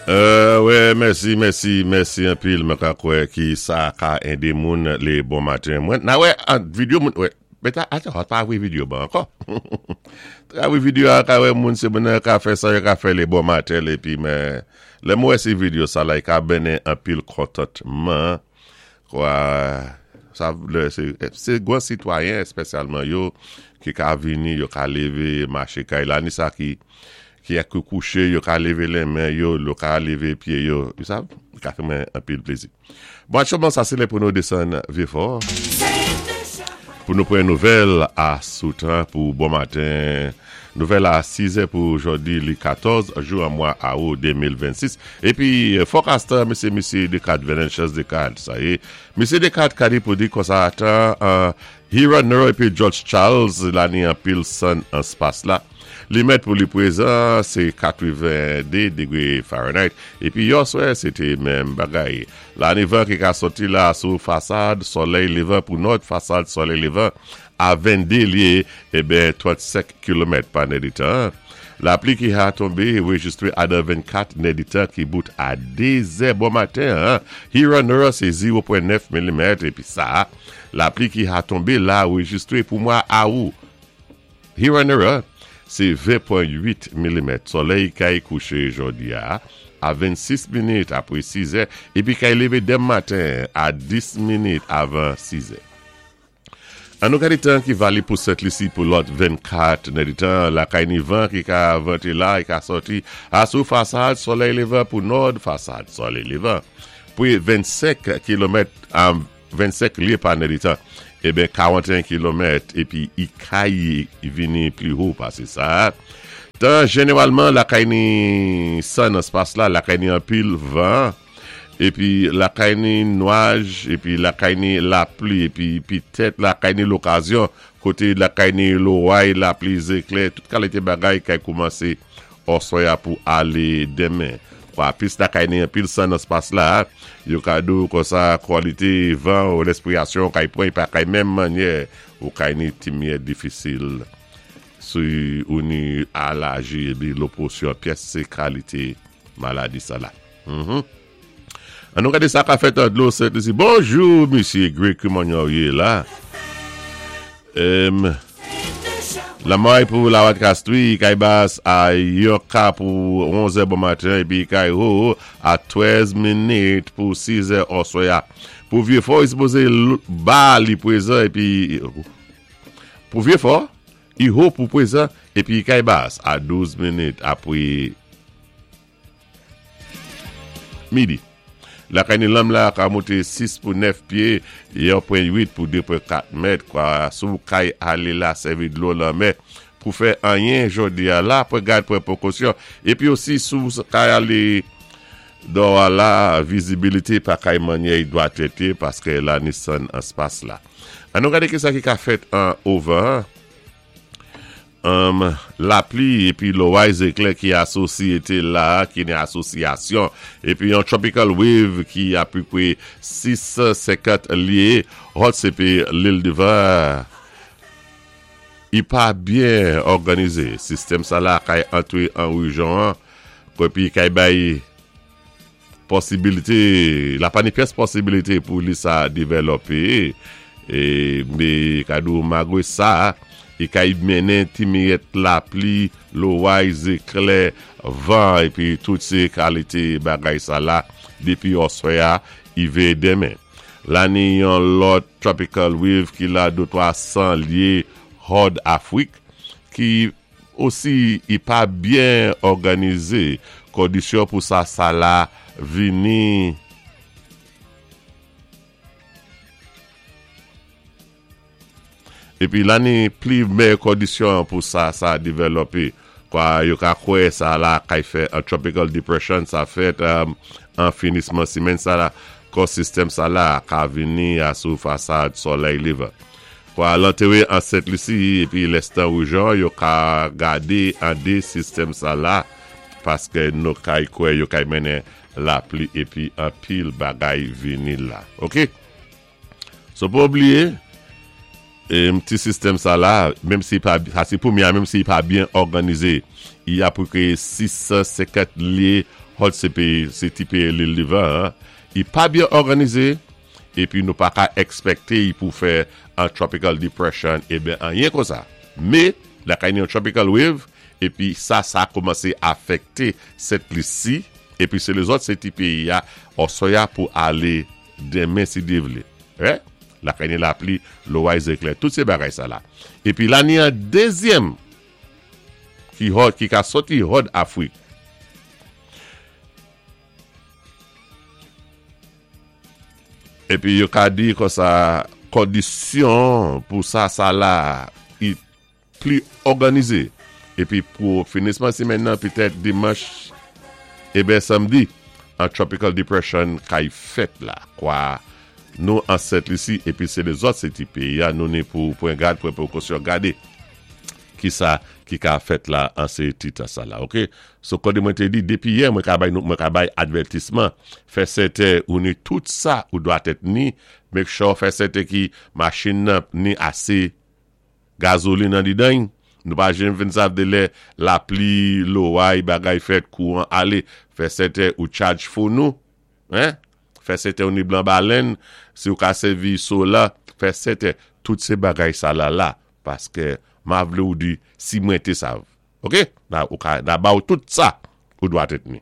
Wè mèsi mèsi mèsi anpil mwen ka kwè ki sa ka ede moun le bon maten mwen na wè an video moun wè mwen ta ata pa wè video ban ankò ta wè video a ka wè moun se moun nan ka fè sa yo ka fè le bon maten le pi men lè mwen wè se video sa la i ka bennen anpil kontantman Kwa sa vle se se gwan sitwayen espesyalman yo ki ka vini yo ka leve mache kay la ni sa ki ki ak kouche yo ka leve len men yo yo ka leve pye yo you sav li ka fè mwen anpil plezi. Bon aktyèlman sa se lè pou nou desann Vyefò pou nou pran nouvèl a sou tan pou bon maten nouvèl a 6 è pou jodi li 14 jou an mwa awou 2026. Epi forecast mesye misye Descartes Venantius Descartes sa ye misye Descartes ka di pou di konsa tan an Hiron Nero epi George Charles la ni anpil sann an spas la li mèt pou li prezan se 82 degre Fahrenheit epi yòswè se te menm bagay la ni van ki ka soti la sou fasad solèy levan pou nòd fasad solèy levan A 22 lye eben 35 kilomèt pa nèditan. Lapli ki ha tonbe rejistre adan 24 nèditan ki bout a 2 zè bon maten an. Huron Nord se 0.9 milimèt epi sa lapli ki ha tonbe la rejistre pou mwa Awou. Huron Nord se 20.8 milimèt. Solèy kay kouche jodi a a 26 minit apre 6 zè epi kay leve denm maten a 10 minit avan 6 zè. An nou gade tan ki valib pou Sent Lisi pou lòt 24 nèditan, lakay ni van ki ka vante la e ka sòti a sou fasad solèy levan pou nòd fasad solèy levan pre 25 kilomèt a 25 lye pa nèditan eben 41 kilomèt epi i kay vini pli ho pase sa. Tan jeneralman lakay ni san nan spas la lakay ni anpil van. Epi lakay ni nwaj, epi lakay ni lapli, epi pitèt lakay ni lokazyon, kote lakay ni loray, lapli, zeklè, tout kalite bagay kay koumanse òswè a pou ale denmen. Kwa plis lakay ni anpil san nan spas la, yo ka di w konsa kwalite van ou lespirasyon kay pran pa kay menm mannyè ou kay ni timyè difisil si ou ni alaji epi loposyon pyès se kalite maladi sa la. An nou gade sa ka fèt an dlo Sent Lisi. Bonjou misye Greg kouman nou ye la? Em Lamay pou Lawat Kastwi, kay bas a yon ka pou 11 è bon maten epi kay ho a 13 minit pou 6 è oswè a. Pou Vyefò li sipoze ba li prezan epi pou Vyefò i ho pou prezan epi kay bas a 12 minit apre Midi. Lakay ni lanm la ka moute 6 pou 9 pye, 1.8 pou 2.4 mèt, kwa sou kay ale la sèvi dlo lanmè pou fè anyen jodi a la pran gad pran prekosyon epi osi sou kay ale dò a la vizibilite pa kay manyè y dwa tete paske la ni sann an spas la. An nou gade kisa ki ka fèt an ovan an. Humm lapli epi loray zeklè ki asosyete la ki gen asosyasyon epi yon tropical wave ki apipre 650 lye hot sepe lil devan i pa byen òganize sistèm sa la kay antre an rejon an epi kay bay Posibilite, la pa ni pyès posibilite pou li sa devèlòpe, e me ka di w magre sa, e ka y mennen ti miyèt lapli, loway, zeklè, van, epi tout se kalite bagay sa la depi òswè a ive demen. La ni yon lòt tropical wave ki la de 300 lye hòd Afrik ki. Osi i pa byen òganize kondisyon pou sa sa la vini. Epi la ni pli mèyè kondisyon pou sa sa devèlòpe. Kwa yo ka kwè sa la kay fè an tropical depression sa fèt an finisman simenn sa la kò sistèm sa la ka vini a sou fasad solèy levan. Kwa al antere an Sent Lisi epi lèstan Roujan yo ka gade ande sistèm sa la paske no kay kwè yo kay mennen lapli epi anpil bagay vini la ok so pa bliye em ti sistèm sa la menm si pa sa se pou mia menm si pa byen òganize y ap kreye 650 lye. Hòd sé péyi, sé ti péyi Lil Devan an, i pa byen òganizé, épi nou pa ka èkspèkté i pou fè an tropical depression eben anyen konsa. Mé, lakay ni yon tropical wave, épi sa sa koumansé afèkté Sent Lisi, épi sé lézòt sé ti péyi a òsò ya pou alé denmen si Dye vlé. Hè? Lakay ni lapli, loway, zéklè, tout sé bagay sa la. Épi la ni an dézyèm ki hòd, ki ka sòti hòd Afrik. Epi yo ka di konsa kondisyon pou sa sa la i pli òganize. Epi pou finisman simèn nan petèt dimanch eben samdi an tropical depression kay fèt la kwa nou an Sent Lisi epi se lezòt se ti peyi a nou ni pou pran gad pran prekosyon gade kisa ki ka fèt la an se ti tan sa la ok so kòde mwen te di depi yè mwen ka bay nou mwen ka bay advètisman fè sèten ou ni tout sa ou dwa tèt ni make sure fè sèten ki machin nan ni ase Gazolin andidan y, nou pa janm fin sav de lè lapli, loway, bagay fèt, kouran ale, fè sèten ou tchadj fon ou, hein, fè sèten ou ni blan balenn, si ou ka sèvi sola, fè sèten, tout se bagay sa la la, paske ma vle ou di si mwen te sav. Ok, na ou ka, na ba ou tout sa ou dwa tèt ni.